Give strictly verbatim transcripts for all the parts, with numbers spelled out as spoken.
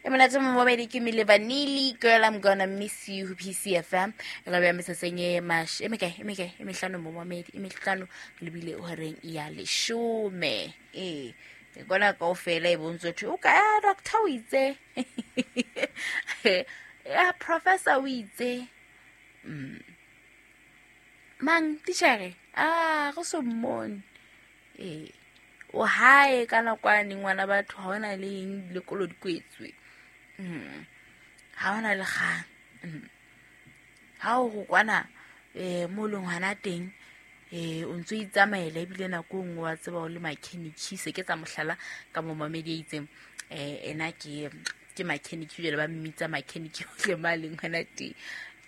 E monate momamedi ke Milli Vanilli, Girl I'm Gonna Miss You ho P C F M. E ka beha meseseng e mash, e mekae, e mekae, e mehlano momamedi, e mehlano lebile horeng ya leshome. Eh, e kona kaofela e bontsho thwe, o ka ya doctor o itse. Ya professor o itse. Mm. Mang titjhere? Ah, go so mmone. Eh, o hae ka nakwane ngwana batho ha hona le eng lekolo di kwetswe. Mm. Ha hona le kgang. Mm. Ha o go kwana, eh, mo leng hona teng, eh, o ntso itsamaela ebile nako e nngwe wa tseba o le mechanic, se ke tsa mohlala ka momamedi a itseng, eh, ena ke, ke mechanic jwale ba mmitsa mechanic hohle ma leng hona teng.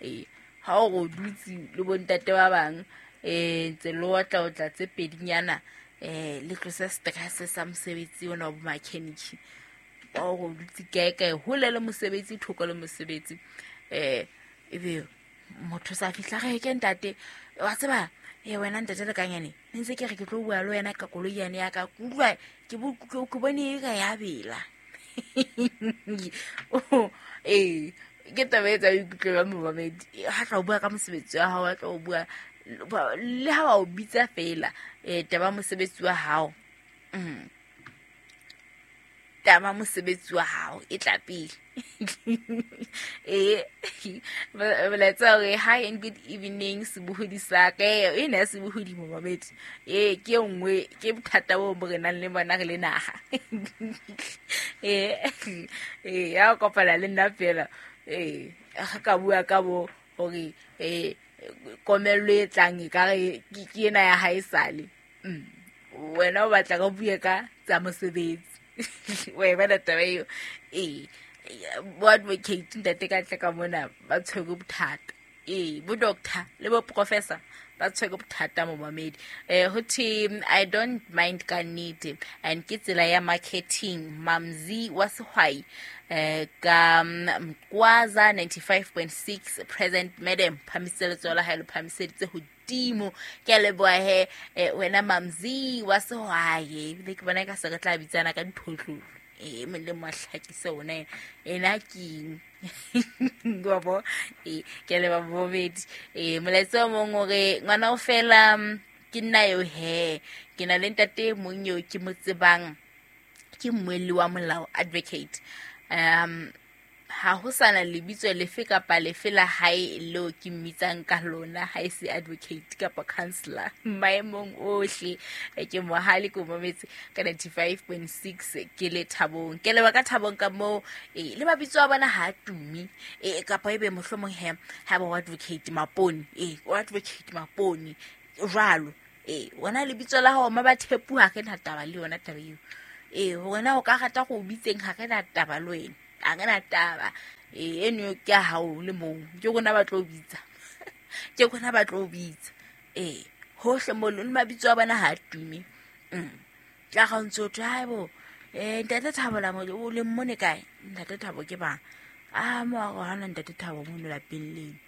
Eh, ha o go dutse le bontate ba bang, eh, ntse le otla otla tse pedinyana, eh, le tlose stress sa mosebetsi ona wa bo mechanic. Wa go dutse kae kae, hole le mosebetsi, thoko le mosebetsi. Eh, ebe motho sa fihla re ke ntate, wa tseba, eh, wena ntate le kanyane, ne ntse ke re ke tlo bua le wena ka koloi yane ya ka, ke utlwa ke bo, ke, ke bone e ka ya bela. Oh, eh, ke taba e tsa ikutlwe ba momamedi. Ha tla o bua ka mosebetsi wa hao, ha tla o bua le ha ba o bitsa fela, eh, taba mosebetsi wa hao. Mm. Taba mosebetsi wa hao e tla pele. Eh, molaetsa hore hi and good evening sebohodi sa ka. Eh, ena ya sebohodi momamedi. Eh, ke e nngwe, ke bothata bo bo re nang le bona re le naha. Eh, eh, ya kopana le nna fela. Eh, ga ka bua ka bo hore, eh, komello e tlang e ka re ke, ke ena ya hae sale. Mm. Wena o batla ka bue ka tsa mosebetsi. Wa e bona taba eo? Ee, bo advocate ntate ka tle ka mona ba tshwere bothata. Ee, bo doctor le bo professor ba tshwere bothata momamedi. Eh, ho thwe, I don't mind ka nnete, and ke tsela ya marketing. Mamzi wa sehwai, eh, ka Mkwaza ninety-five point six present madam, phamisitse letsoho la hae le phamiseditse hodimo. Ke a leboha he, eh, wena Mamzi wa sehwai. Ebile ke bona ka se re tla bitsana ka diphotlolo. Eh, mong le mong a hlakise ona ena keng. Wa bo? Eh, ke a leboha bobedi. Eh, molaetsa o mong o re, ngwana o fela, mm, ke nna eo he. Ke na le ntate e mong eo ke mo tsebang, ke mmuelli wa molao, advocate. Um, ha ho sana lebitso lefe kapa lefe la hae leo ke mmitsang ka lona, ha e se advocate kapa counselor. Maemong ohle, eh, ke mohale ke o mametse ka ninety-five point six ke le Thabong. Ke leboha ka Thabong ka moo, eh, le mabitso a bona ha a tumi. Eh, kapa ebe mohlomong he, ha ba o advocate Mapone. Eh, o advocate Mapone jwalo. Eh, wena lebitso la hao ma ba thepu ha ke na taba le yona taba eo. Eh, wena o ka rata go o bitseng ha ke na taba le wena. Ha ke na taba. Eh, eno ke ya hao le mong. Ke rona ba tlo bitsa. Ke rona ba tlo bitsa. Eh, hohle mo le mabitso a bona ha a tume. Mm. Tla ga o ntso thwe, hai bo, eh, ntate Thabo la mo, o le mmone kae? Ntate Thabo ke bang? Ah, mo a re hana ntate Thabo mono lapeng leno.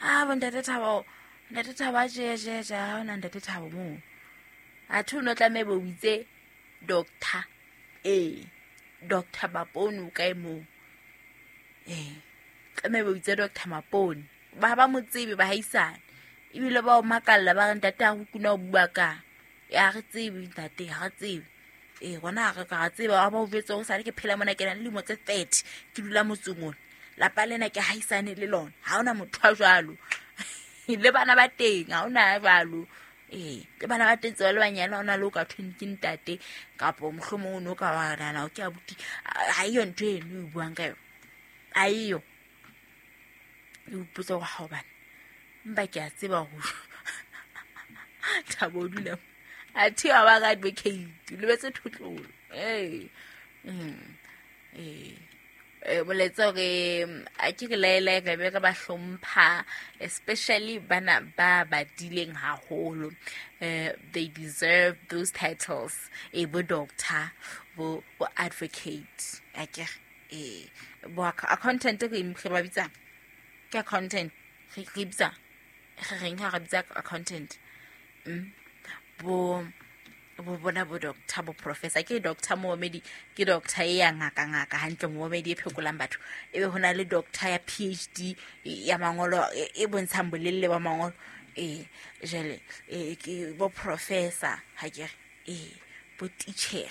Ah, bo ntate Thabo, ntate Thabo a tje, tje, tje, ha hona ntate Thabo moo. Athe o no tlameha bo bitse doctor. Eh, Doctor Mapone o kae moo? Eh, tlameha bo bitse Doctor Mapone. Ba ba mo tsebe ba haisane. Ebile ba o makalla ba re ntate ha ho kuna o bua ka. Ya re tsebe ntate, ha re tsebe. Eh, rona ha re ka ra tseba, wa ba o jwetse hore sale ke phela mona ke na le dilemo tse thirty, ke dula motseng ona. Lapa lena ke haisane le lona. Ha hona motho a jwalo. Le bana ba teng, ha hona a jwalo. Eh, le bana ba teng tse ba le banyane, ha hona le o ka thweng ke ntate, kapo mohlomong o no ka wa nahana hore ke abuti. Ha eyo ntho eno e buang ka yona. Ha eyo. O ipotsa hore ha hobane. Empa ke a tseba hore Thabo o dula mo. Athe wa ba ka advocate, o lebetse thotlolo. Eh. Mm. Eh. Eh, molaetsa hore, a ke re laela re be re ba hlompha, especially bana ba badileng haholo. Eh, they deserve those titles. Eh, bo doctor, bo, bo advocate. A ke re, eh, bo acc-, accountant re, re ba bitsa? Ke accountant. Re, re bitsa? Re reng ha re bitsa accountant? Mm. Bo, Bo bona bo doctor bo professor ke doctor momedi ke doctor e ya ngaka ngaka hantle momedi e phekolang batho ebe hona le doctor ya P H D ya mangolo e bontshang bolelle ba mangolo e jale e ke bo professor ha ke e bo teacher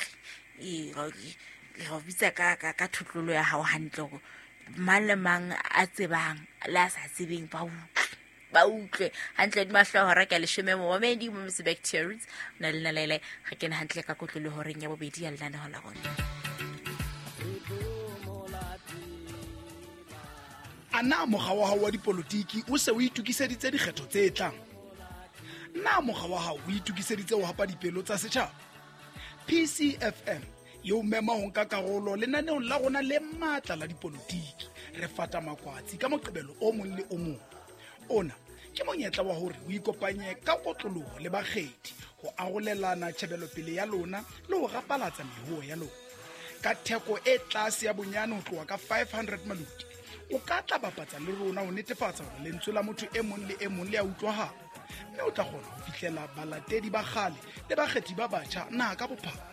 e re bitsa ka ka ka thutlolo ya hao hantle go mang le mang a tsebang le a sa tsebeng ba utlwe ba utlwe hantle di mahlo hora ka leshome momedi mo Miss Bacteria na le nalele re kene hantle ka kotlolo horeng ya bobedi ya lenaneo la rona. Ana mokga wa hao wa dipolotiki o se o itokiseditse dikgetho tse tlang? Na mokga wa hao o itokiseditse ho hapa dipelo tsa setjhaba? P C F M e o mema ho nka karolo lenaneong la rona le matla la dipolotiki. Re fata makwatsi ka Moqebelo o mong le o mong. Ona ke monyetla wa hore o ikopanye ka kotloloho le bakgethi ho arolelana tjhebelopele ya lona le ho rapalatsa mehoho ya lona. Ka theko e tlase ya bonyane ho tloha ka five hundred maluti, o ka tla bapatsa le rona ho netefatsa hore lentswe la motho e mong le e mong le a utlwahala, mme o tla kgona ho fihlela balatedi ba kgale le bakgethi ba batjha naha ka bophara.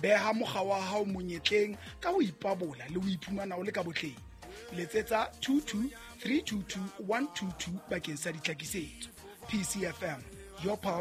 Beha mokga wa hao monyetleng ka ho ipabola le ho iphumana o le ka botleng. Letsetsa two two three two two one two two bakeng sa ditlhakisetso. P C F M, your power.